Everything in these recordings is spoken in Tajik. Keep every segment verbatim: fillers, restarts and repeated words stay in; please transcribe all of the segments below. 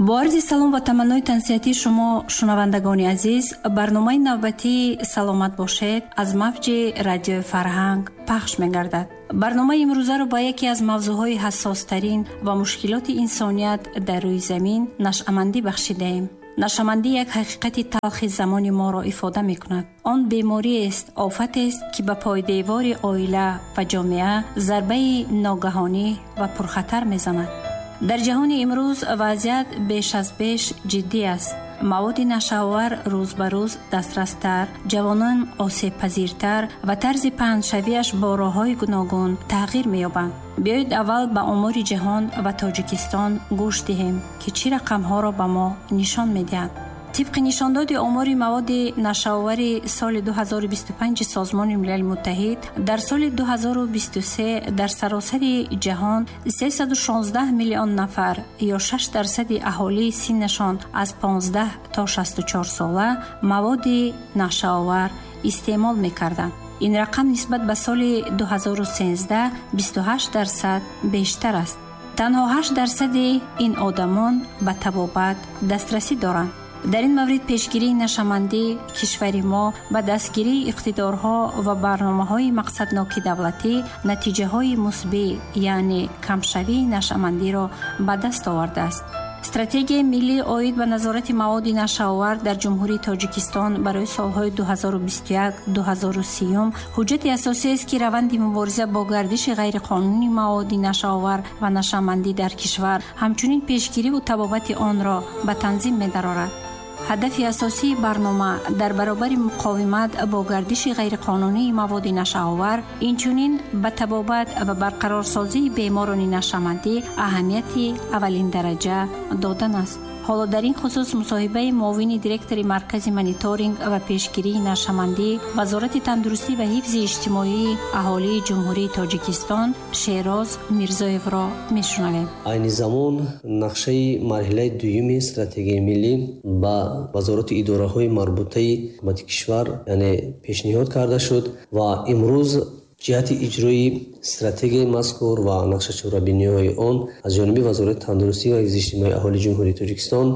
Бо арзи салом ва таманнои тансиҳатии шумо, шунавандагони азиз, барномаи навбатии «Саломат бошед» аз мавҷи радиои Фарҳанг пахш мегардад. Барномаи имрӯзаро ба яке аз мавзӯъҳои ҳассостарин ва мушкилоти инсоният дар рӯи замин нашъамандӣ бахшидаем. Нашъамандӣ як ҳақиқати талхи замони моро ифода мекунад. Он бемориест, офатест, ки ба пойдевори оила ва ҷомеа зарбаи ногаҳонӣ ва пурхатар мезанад. Дар ҷаҳони имрӯз вазъият беш аз беш ҷиддӣ аст. Маводи нашъаовар рӯз ба рӯз дастрастар, ҷавонон осебпазиртар ва тарзи паҳншавиаш бо роҳҳои гуногун тағйир меёбанд. Биёед аввал ба омори ҷаҳон ва Тоҷикистон гӯш диҳем, ки чӣ рақамҳоро ба мо нишон медиҳанд. Тибқи нишондоди омори маводи нашъаовари соли ду ҳазору бисту панҷ Созмони Милали Муттаҳид, дар соли ду ҳазору бисту се дар саросари ҷаҳон сесаду шонздаҳ миллион нафар ё шаш дарсади аҳолии синнашон аз понздаҳ то шасту чор сола маводи нашъаовар истеъмол мекарданд. Ин рақам нисбат ба соли ду ҳазору сенздаҳ бисту ҳашт дарсад бештар аст. Танҳо ҳашт дарсади ин одамон ба табобат дастрасӣ доранд. Дар ин маврид пешгирии нашъамандӣ кишвари мо ба дастгирии иқтидорҳо ва барномаҳои мақсадноки давлатӣ натиҷаҳои мусбӣ, яъне камшавии нашъамандиро ба даст овардааст. Стратегияи миллӣ оид ба назорати маводи нашъаовар дар Ҷумҳурии Тоҷикистон барои солҳои ду ҳазору бисту як ду ҳазору сиюм ҳуҷҷати асосиест, ки раванди мубориза бо гардиши ғайриқонунии маводи нашъаовар ва нашъамандӣ дар кишвар, ҳамчунин пешгириву табобати онро ба танзим медарорад. Ҳадафи асосии барнома дар баробари муқовимат бо гардиши ғайриқонунии маводи нашъаовар, инчунин ба табобат ва барқарорсозии беморони нашъамандӣ аҳамияти аввалиндараҷа додан аст. Ҳоло дар ин хусус мусоҳибаи муовини директори Маркази мониторинг ва пешгирии нашъамандӣ Вазорати тандурустӣ ва ҳифзи иҷтимоии аҳолии Ҷумҳурии Тоҷикистон Шероз Мирзоевро мешунавем. Айни замон нақшаи марҳилаи дуюми стратегияи миллӣ ба вазорати идораҳои марбутаи ҳукумати кишвар, яъне пешниҳод карда шуд ва имрӯз ҷиҳати иҷрои стратегияи мазкур ва нақшачорабиниҳои он аз ҷониби Вазорати тандурустӣ ва ҳифзи иҷтимоии аҳолии Ҷумҳурии Тоҷикистон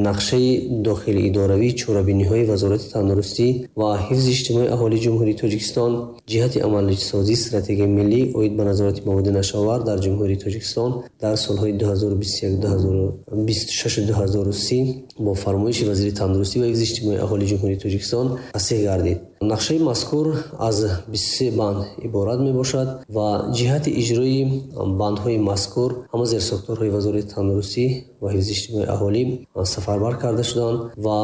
нақшаи дохили идоравии чорабиниҳои Вазорати тандурустӣ ва ҳифзи иҷтимоии аҳолии Ҷумҳурии Тоҷикистон ҷиҳати амалисозии стратегияи миллӣ оид ба назорати маводи нашъаовар дар Ҷумҳурии Тоҷикистон дар солҳои ду ҳазору бисту як ду ҳазору бисту шаш ду ҳазору си бо фармоиши вазири тандурустӣ ва ҳифзи иҷтимоии аҳолии Ҷумҳурии Тоҷикистон тасдиқ гардид. Нақшаи мазкур аз бисту се банд иборат мебошад ва ҷиҳати иҷрои бандҳои мазкур ҳама зерсохторҳои Вазорати тандурустӣ ва ҳифзи иҷтимоии аҳолӣ сафарбар карда шуданд ва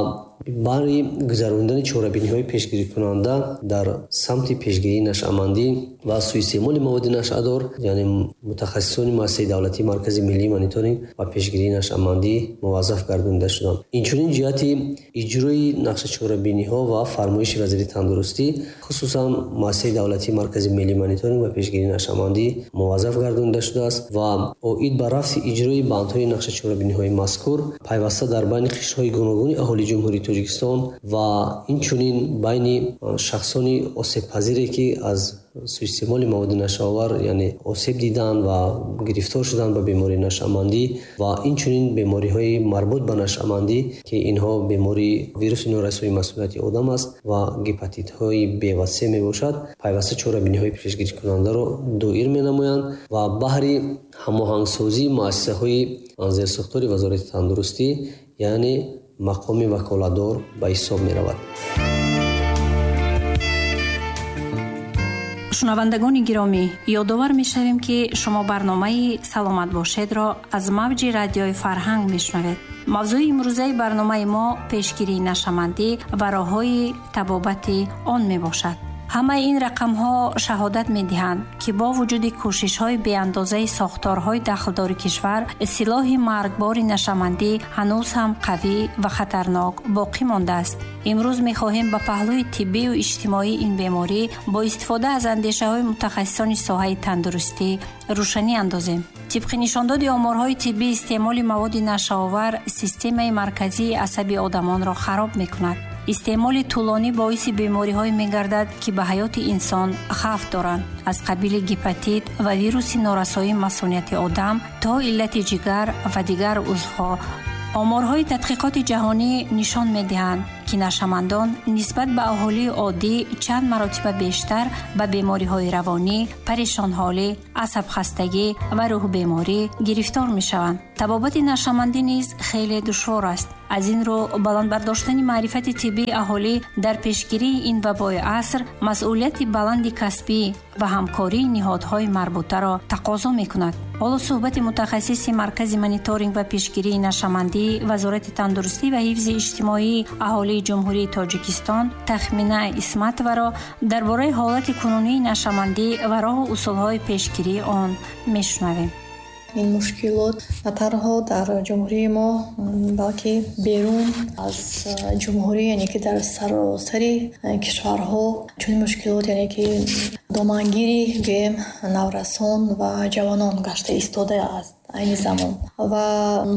барои гузарондани чорабиниҳои пешгирикунанда дар самти пешгирии нашъамандӣ ва суистеъмоли маводи нашъадор, яъне мутахассисони муассисаи давлатии Маркази миллии мониторинг ва пешгирии нашъамандӣ муваззаф гардонида шуданд. Инчунин ҷиҳати иҷрои нақшачорабиниҳо ва фармоиши вазири тандурустӣ, хусусан муассисаи давлатии Маркази миллии мониторинг ва пешгирии нашъамандӣ муваззаф гардонида шудааст ва оид ба рафти иҷрои бандҳои нақшачорабиниҳои мазкур пайваста дар байни қишрҳои гуногуни аҳолии Ҷумҳурии Тоҷикистон ва инчунин байни шахсони осебпазире, ки аз суистеъмоли маводи нашъаовар, яъне осеб диданд ва гирифтор шуданд ба бемории нашъамандӣ ва инчунин бемориҳои марбут ба нашъамандӣ, ки инҳо бемории вируси норасоии масунияти одам аст ва гепатитҳои Б ва С мебошад, пайваста чорабиниҳои пешгирикунандаро доир менамоянд ва баҳри ҳамоҳангсозии муассисаҳои зерсохтори Вазорати тандурустӣ, яъне мақоми ваколатдор ба ҳисоб меравад. Шунавандагони гиромӣ, ёдовар мешавем, ки шумо барномаи «Саломат бошед»-ро аз мавҷи радиои Фарҳанг мешунавед. Мавзӯи имрӯзаи барномаи мо пешгирии нашъамандӣ ва роҳҳои табобати он мебошад. Ҳамаи ин рақамҳо шаҳодат медиҳанд, ки бо вуҷуди кӯшишҳои беандозаи сохторҳои дахлдори кишвар, силоҳи маргбори нашъамандӣ ҳанӯз ҳам қавӣ ва хатарнок боқӣ мондааст. Имрӯз мехоҳем ба паҳлӯи тиббию иҷтимоии ин беморӣ бо истифода аз андешаҳои мутахассисони соҳаи тандурустӣ рӯшанӣ андозем. Тибқи нишондоди оморҳои тиббӣ, истеъмоли маводи нашъаовар системаи марказии асаби одамонро хароб мекунад. Истеъмоли тӯлонӣ боиси бемориҳое мегардад, ки ба ҳаёти инсон хавф доранд, аз қабили гепатит ва вируси норасоии масунияти одам то иллати ҷигар ва дигар узвҳо Оморҳои тадқиқоти ҷаҳонӣ нишон медиҳанд, ки нашъамандон нисбат ба аҳолии оддӣ чанд маротиба бештар ба бемориҳои равонӣ, парешонҳолӣ, асабхастагӣ ва рӯҳбеморӣ гирифтор мешаванд. Табобати нашъамандӣ низ хеле душвор аст. Аз ин рӯ баланд бардоштани маърифати тиббии аҳолӣ дар пешгирии ин вабои аср масъулияти баланди касбӣ ва ҳамкории ниҳодҳои марбутаро тақозо мекунад. Ҳоло суҳбати мутахассиси Маркази мониторинг ва пешгирии нашъамандӣ Вазорати тандурустӣ ва ҳифзи иҷтимоии аҳолии Ҷумҳурии Тоҷикистон Тахмина Исматоваро дар бораи ҳолати кунунии нашъамандӣ ва роҳу усулҳои пешгирии он мешунавем. Ин мушкилот на танҳо дар ҷумҳурии мо, балки берун аз ҷумҳурӣ, яъне ки дар саросари кишварҳо чунин мушкилот, яъне ки домангири гӯем наврасон ва ҷавонон гашта истодааст айни замон. Ва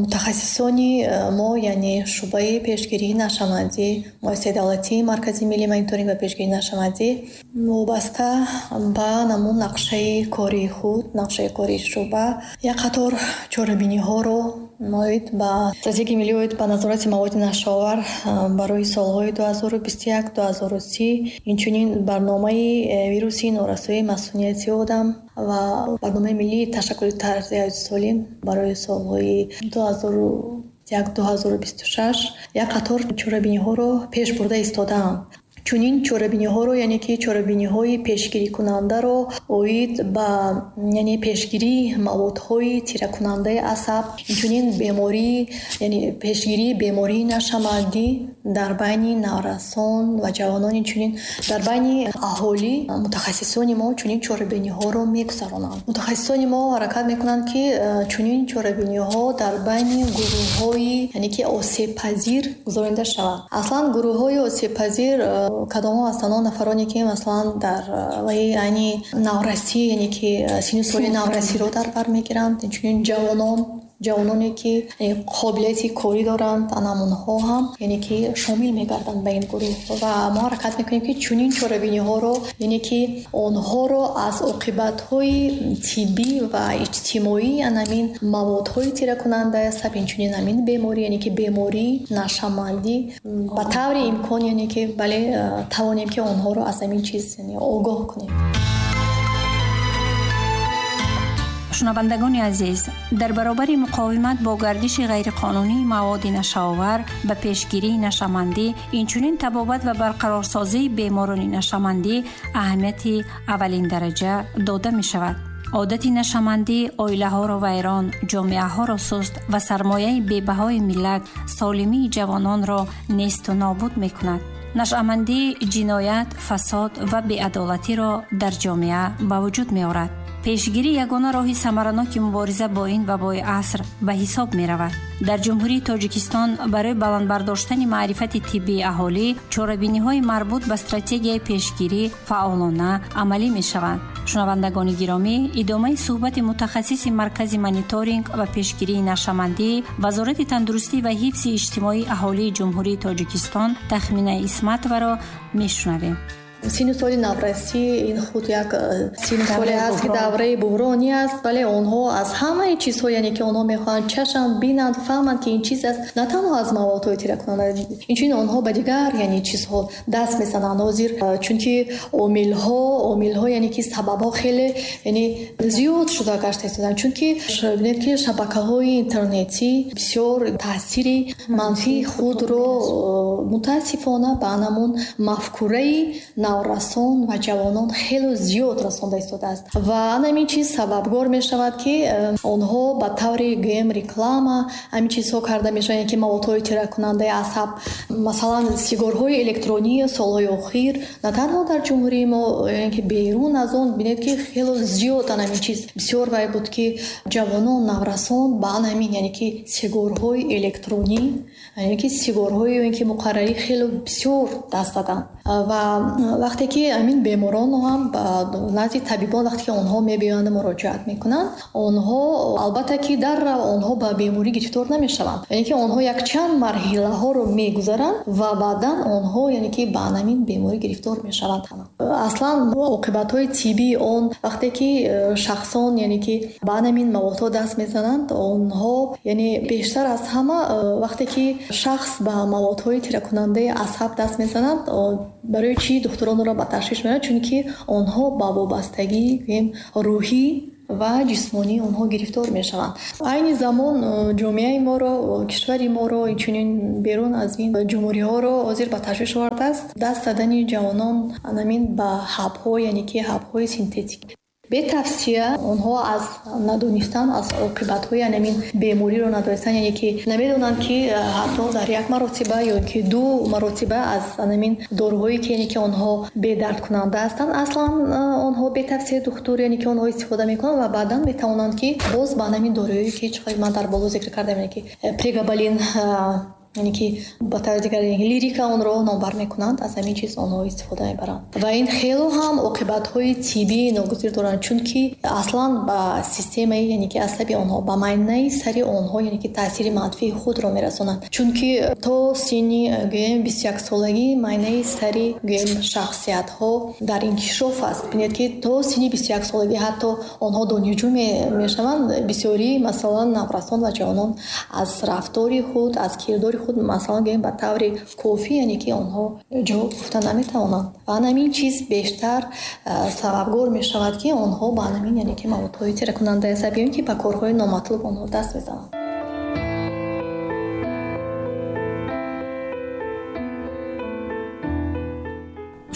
мутахассисони мо, яъне шӯъбаи пешгирии нашъамандӣ, муассисаи давлатии Маркази миллии мониторинг ва пешгирии нашъамандӣ вобаста ба намун нақшаи кории худ, нақшаи кории шӯъба як қатор чорабиниҳоро оид ба стратегияи миллӣ оид ба назорати маводи нашъаовар барои солҳои ду ҳазору бисту як ду ҳазору си, инчунин барномаи вируси норасоии масунияти одам ва барномаи миллии ташаккули тарзи ҳаёти солим барои солҳои ду ҳазору як ду ҳазору бисту шаш як қатор чорабиниҳоро пеш бурда истодаанд. Чунин чорабиниҳоро, яъне ки чорабиниҳои пешгирикунандаро оид ба, яъне пешгирии маводҳои тиракунандаи асаб, инчунин бемории, яъне пешгирии бемории нашъамандӣ дар байни наврасон ва ҷавонон, инчунин дар байни аҳолӣ мутахассисони мо чунин чорабиниҳоро мегузаронанд. Мутахассисони мо ҳаракат мекунанд, ки чунин чорабиниҳо дар байни гурӯҳҳои, яъне ки осебпазир гузаронида шаванд. Аслан гурӯҳҳои осебпазир кадомҳо ҳастанд? Он нафароне, ки масалан дар ваи айни наврасӣ, яъне ки синну соли наврасиро дар бар мегиранд, инчунин ҷавонон, ҷавононе, ки қобилияти корӣ доранд, анамонҳо ҳам, яъне ки шомил мегарданд ба ин гурӯҳ. Ва мо ҳаракат мекунем, ки чунин чорабиниҳоро, яъне ки онҳоро аз оқибатҳои тиббӣ ва иҷтимоии анамин маводҳои тиракунандаи асаб, инчунин ҳамин беморӣ, яъне ки бемории нашъамандӣ ба таври имкон, яъне ки бале, тавонем, ки онҳоро аз ҳамин чиз огоҳ кунем. Шунавандагони азиз, дар баробари муқовимат бо гардиши ғайриқонунии маводи нашъаовар ба пешгирии нашъамандӣ, инчунин табобат ва барқарорсозии беморони нашъамандӣ аҳамияти аввалиндараҷа дода мешавад. Одати нашъамандӣ оилаҳоро вайрон, ҷомеаҳоро суст ва сармояи бебаҳои миллат, солимии ҷавононро несту нобуд мекунад. Нашъамандӣ ҷиноят, фасод ва беадолатиро дар ҷомеа ба вуҷуд меорад. Пешгирӣ ягона роҳи самараноки мубориза бо ин вабои аср ба ҳисоб меравад. Дар Ҷумҳурии Тоҷикистон барои баланд бардоштани маърифати тиббии аҳолӣ чорабиниҳои марбут ба стратегияи пешгирӣ фаъолона амалӣ мешаванд. Шунавандагони гиромӣ, идомаи суҳбати мутахассиси Маркази мониторинг ва пешгирии нашъамандӣ Вазорати тандурустӣ ва ҳифзи иҷтимоии аҳолии Ҷумҳурии Тоҷикистон Тахмина Исматоваро мешунавем. Синну соли наврасӣ ин худ як синну соле аст, ки давраи буҳронӣ аст, вале онҳо аз ҳамаи чизҳо, яъне ки онҳо мехоҳанд чашанд, бинанд, фаҳманд, ки ин чиз аст, на танҳо аз маводҳои тиракунанда, инчунин онҳо ба дигар, яъне чизҳо даст мезананд. Ҳозир чунки омилҳо, омилҳо, яъне ки сабабҳо хеле, яъне зиёд шуда гашта истодаанд, чунки бинед, ки шабакаҳои интернетӣ бисёр таъсири манфии худро мутаассифона ба анамун мафкураи наврасон ва ҷавонон хеле зиёд расонда истодааст. Ва ҳамин чиз сабабгор мешавад, ки онҳо ба таври гӯем реклама ҳамин чизҳо карда мешаванд, ки маводҳои тиракунандаи асаб, масалан сигорҳои электронӣ солҳои охир на танҳо дар ҷумҳурии мо, яъне ки берун аз он бинед, ки хеле зиёд ҳамин чиз бисёр вай буд, ки ҷавонон, наврасон ба ҳамин, яъне ки сигорҳои электронӣ, яъне ки сигорҳои ки муқаррарӣ хеле бисёр даст даданд. Ва Вақте ки ҳамин беморон ҳам ба назди табибон вақте ки онҳо мебиёянд муроҷиат мекунанд, онҳо албатта ки дар онҳо ба беморӣ гирифтор намешаванд. Яъне ки онҳо якчанд марҳилаҳоро мегузаранд ва баъдан онҳо яъне ки ба ҳамин беморӣ гирифтор мешаванд. Аслан оқибатҳои тиббии он вақте ки шахсон яъне ки ба ҳамин маводҳо даст мезананд, онҳо яъне бештар аз ҳама вақте ки шахс ба маводҳои тиракунандаи асаб даст мезананд, барои чӣ духтуронро ба ташвиш меоранд? Чунки онҳо ба вобастагии рӯҳӣ ва ҷисмонии онҳо гирифтор мешаванд. Айни замон ҷомеаи моро, кишвари моро, инчунин берун аз ин ҷумҳуриҳоро ҳозир ба ташвиш овардааст даст задани ҷавонон ҳамин ба ҳабҳо, яъне ки ҳабҳои синтетикӣ. Бетавсия онҳо аз надонистан, аз оқибатҳои ҳамин бемориро надонистан, яъне ки намедонанд ки ҳатто дар як маротиба ё ки ду маротиба аз ҳамин доруҳое ки яъне ки онҳо бедардкунанда ҳастанд, аслан онҳо бетавсияи духтур яъне ки онҳо истифода мекунанд ва баъдан метавонанд ки боз ба ҳамин доруҳое ки чӣ ман дар боло зикр кардам, яъне ки прегабалин, яъне ки ба таври дигар лирика онро номбар мекунанд, аз ҳамин чиз онҳо истифода мебаранд. Ва ин хело ҳам оқибатҳои тиббии ногузир доранд, чунки аслан ба системаи яъне ки асаби онҳо, ба майнаи сари онҳо яъне ки таъсири манфии худро мерасонанд. Чунки то синни гӯем бисту як солагӣ майнаи сари гӯем шахсиятҳо дар инкишоф аст. Бинед ки то синни бисту як солагӣ ҳатто онҳо донишҷӯ мешаванд. Бисёрӣ масалан наврасон ва ҷавонон аз рафтори худ, аз кирдори худ масалан гӯем ба таври кофӣ яъне ки онҳо ҷавоб гуфта наметавонанд. Ва ҳамин чиз бештар сабабгор мешавад ки онҳо ба ҳамин яъне ки маводҳои тиракунандаи асаб ё ки ба корҳои номатлуб онҳо даст мезананд.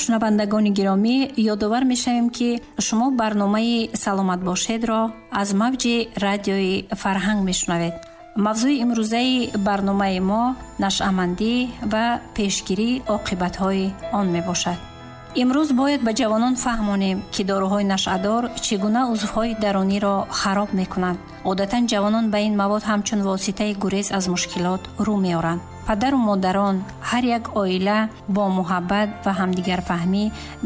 Шунавандагони гиромӣ, ёдовар мешавем ки шумо барномаи «Саломат бошед»-ро аз мавҷи радиои Фарҳанг мешунавед. Мавзӯи имрӯзаи барномаи мо нашъамандӣ ва пешгирии оқибатҳои он мебошад. Имрӯз бояд ба ҷавонон фаҳмонем, ки доруҳои нашъадор чӣ гуна узвҳои даруниро хароб мекунанд. Одатан ҷавонон ба ин мавод ҳамчун воситаи гурез аз мушкилот рӯ меоранд. Падару модарон, ҳар як оила бо муҳаббат ва ҳамдигарфаҳмӣ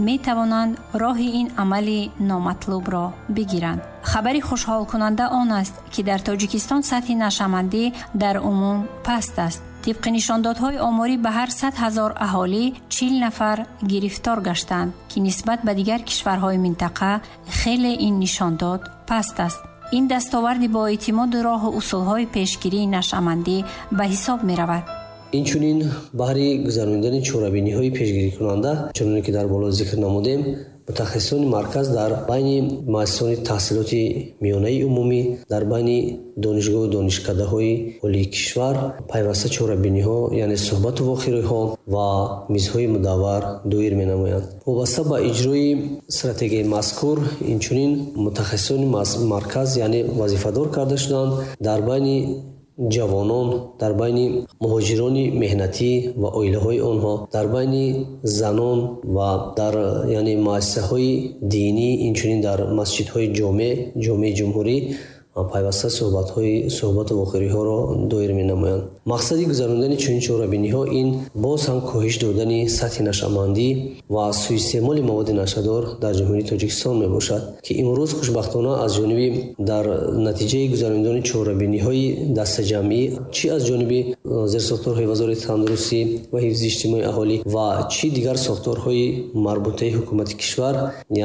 метавонанд роҳи ин амали номатлубро бигиранд. Хабари хушҳолкунанда он аст, ки дар Тоҷикистон сатҳи нашъамандӣ дар умум паст аст. Тибқи нишондодҳои оморӣ ба ҳар сад ҳазор аҳолӣ чил нафар гирифтор гаштанд, ки нисбат ба дигар кишварҳои минтақа хеле ин нишондод паст аст. Ин дастоварди бо эътимоду роҳу усулҳои пешгирии нашъамандӣ ба ҳисоб меравад. Инчунин баҳри гузаронидани чорабиниҳои пешгирикунанда, чуноне ки дар боло зикр намудем, мутахассисони марказ дар байни муассисони таҳсилоти миёнаи умумӣ, дар байни донишгоҳу донишкадаҳои олии кишвар пайваста чорабиниҳо, яъне суҳбату вохӯриҳо ва мизҳои мудаввар доир менамоянд. Вобаста ба иҷрои стратегияи мазкур, инчунин мутахассисони марказ яъне вазифадор карда шуданд дар байни ҷавонон, дар байни муҳоҷирони меҳнатӣ ва оилаҳои онҳо, дар байни занон ва дар яъне муассисаҳои динӣ, инчунин дар масҷидҳои ҷомеъ, ҷомеи ҷумҳурӣ пайваста суҳбатҳои суҳбату вохӯриҳоро доир менамоянд. Мақсади гузарондани чунин чорабиниҳо ин боз ҳам коҳиш додани сатҳи нашъамандӣ ва суистеъмоли маводи нашъадор дар Ҷумҳурии Тоҷикистон мебошад, ки имрӯз хушбахтона аз ҷониби дар натиҷаи гузарондани чорабиниҳои дастаҷамъӣ, чӣ аз ҷониби зерсохторҳои Вазорати тандурустӣ ва ҳифзи иҷтимоии аҳолӣ ва чӣ дигар сохторҳои марбутаи ҳукумати кишвар,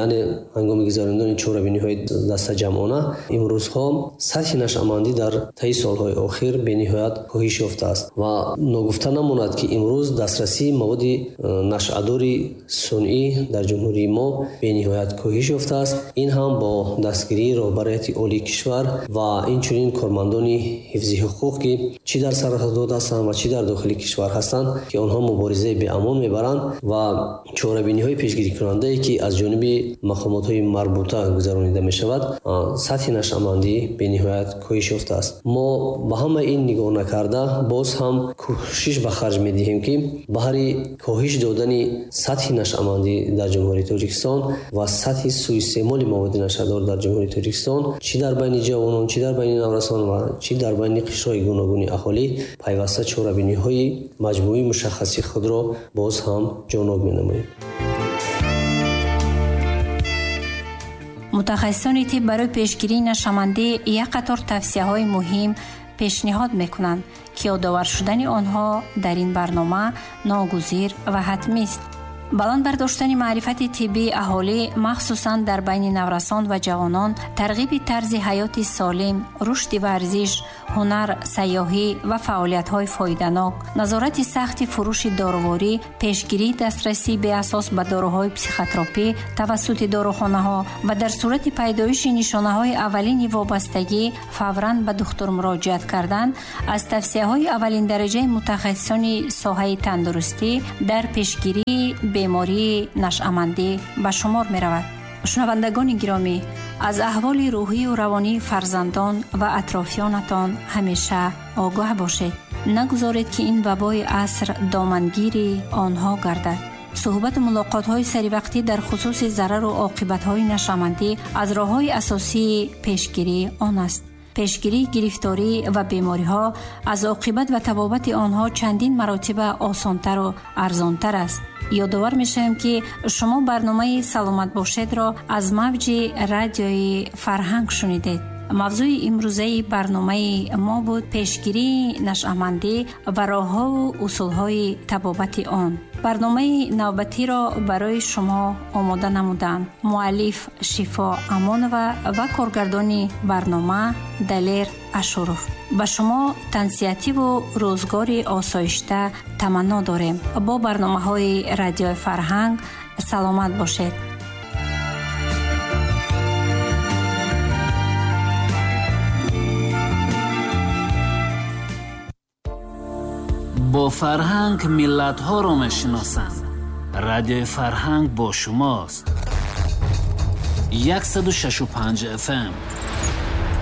яъне ҳангоми гузарондани чорабиниҳои дастаҷамъона, имрӯзҳо сатҳи нашъамандӣ дар таи солҳои охир бениҳоят коҳиш ёфтааст ва ногуфта намонад, ки имрӯз дастрасии маводи нашъадори сунъӣ дар ҷумҳурии мо бениҳоят коҳиш ёфтааст. Ин ҳам бо дастгирии роҳбарияти олии кишвар ва инчунин кормандони ҳифзи ҳуқуқ, ки чӣ дар сарҳадот ҳастанд ва чӣ дар дохили кишвар ҳастанд, ки онҳо муборизаи беамон мебаранд ва чорабиниҳои пешгирикунандае, ки аз ҷониби мақомотҳои марбута гузаронида мешавад, сатҳи нашъамандӣ бениҳоят коҳиш ёфтааст. Мо ба ҳамаи ин нигоҳ накарда боз ҳам кӯшиш ба харҷ медиҳем, ки баҳри коҳиш додани сатҳи нашъамандӣ дар Ҷумҳурии Тоҷикистон ва сатҳи суистеъмоли маводи нашъадор дар Ҷумҳурии Тоҷикистон, чӣ дар байни ҷавонон, чӣ дар байни наврасон ва чӣ дар байни қишрҳои гуногуни аҳолӣ пайваста чорабиниҳои маҷмӯии мушаххаси худро боз ҳам ҷоноб менамоем. Мутахассисони тиб барои пешгирии нашъамандӣ як қатор тавсияҳои муҳим пешниҳод мекунанд, ки ёдовар шудани онҳо дар ин барнома ногузир ва ҳатмист. Баланд бардоштани маърифати тиббии аҳолӣ, махсусан дар байни наврасон ва ҷавонон, тарғиби тарзи ҳаёти солим, рушди варзиш, ҳунар, сайёҳӣ ва фаъолиятҳои фоиданок, назорати сахти фурӯши доруворӣ, пешгирии дастрасии беасос ба доруҳои психотропӣ тавассути дорухонаҳо ва дар сурати пайдоиши нишонаҳои аввалини вобастагӣ фавран ба духтур муроҷиат кардан аз тавсияҳои аввалиндараҷаи мутахассисони соҳаи тандурустӣ дар пешгирии бемории нашъамандӣ ба шумор меравад. Шунавандагони гиромӣ, аз аҳволи рӯҳию равонии фарзандон ва атрофиёнатон ҳамеша огоҳ бошед. Нагузоред, ки ин вабои аср домангири онҳо гардад. Суҳбату мулоқотҳои саривақтӣ дар хусуси зарару оқибатҳои нашъамандӣ аз роҳҳои асосии пешгирии он аст. Пешгирии гирифторӣ ва бемориҳо аз оқибат ва табобати онҳо чандин маротиба осонтару арзонтар аст. Ёдовар мешавем, ки шумо барномаи «Саломат бошед»-ро аз мавҷи радиои Фарҳанг шунидед. Мавзӯи имрӯзаи барномаи мо буд пешгирии нашъамандӣ ва роҳҳову усулҳои табобати он. Барномаи навбатиро барои шумо омода намуданд муаллиф Шифо Амонова ва коргардони барнома Далер Ашуров. Ба шумо тансиҳативу рӯзгори осоишта таманно дорем. Бо барномаҳои радиои Фарҳанг саломат бошед. Бо фарҳанг миллатҳоро мешиносанд. Радиои Фарҳанг бо шумост. яксаду шашу панҷ эф эм.